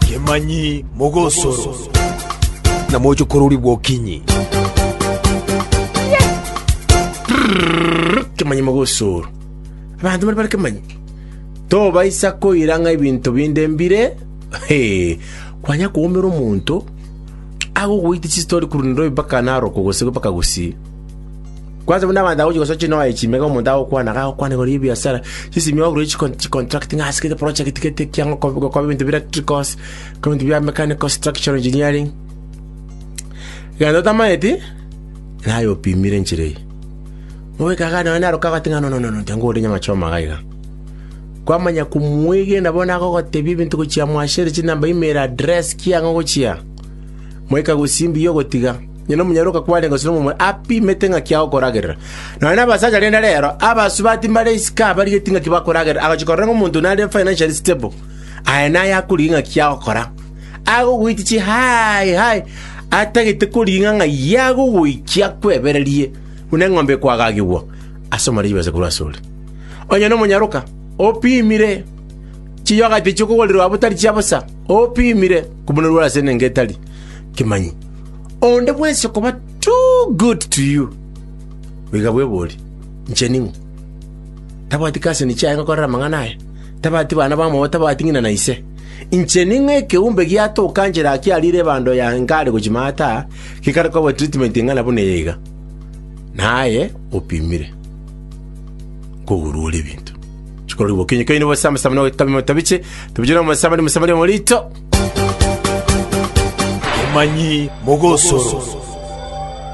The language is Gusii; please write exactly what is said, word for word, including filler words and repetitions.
Kemanyi mogosoro. Na mochokorori bwokinyi. Kemanyi mogosoro. Abanto bari bare kemanyi. Tobaisa koira ng'a ebinto binde mbire, he, kwanya koumera omonto agogoita chistori korwa Nairobi mpaka Narok gose mpaka Gusii. Kwanza buna abanto agochi gosoa chinoe chimega omonto agokwana iga agokwana igoro ya ebiasara, chisimi ogure chikon chicontract ng'a ase gete project gete ekiang'o kob gokoba ebinto bia electricals, ebinto bia mechanical structural engineering. Egento otamanyeti, naye opimire enchera eye. Mogoika iga nonya Narok agoteba ng'a no no no no tiga ngore nyama choma iga iga. Kwamanya komwegena bono agogotebia ebinto gochia mwashere chinamba email address kiang'o gochia. Moika gose mbuya ogotiga. Onye nomonyaroka kwarenge gose nomomura apimete ng'aki agokoragerera. Nonya nabasacha rende rero, abasubati mbare isiko abarigeti ng'aki bakoragerera, agochia korora ng'a omonto nare financially stable, aye naye akorigia ng'aki agokora. Agogoitia chi hai hai, atagete korigia ng'a ng'ai agogoikia akwebererie buna eng'ombe ekoagagigwa ase omare chibesa korwa asore. Onye nomonyaroka, opimire chiyogati chi'okogorirwa abwo tari chia bosa, opimire kobunerwa ase enengo etari kemanyi. Onde bwensi okoba too good to you, goika bweborie, Inche ning'o? Tabwati cousin chiaye ngokorera amang'ana aya? Tabwati bana bamwabo, tabwati ng'ina na ise? Inche ning'o ekeumbe giatoka nchera akiarire ebando ya nkare gochia maate aa, gekare koba treatment eng'ana buna eye iga? Naye opimire nkogurwa ore ebinto. Chikorwa bokenyu keino bose amasabo na ogotamia motabiche, tabiche na omosamari, omosamari omorito. Kemanyi mogosoro.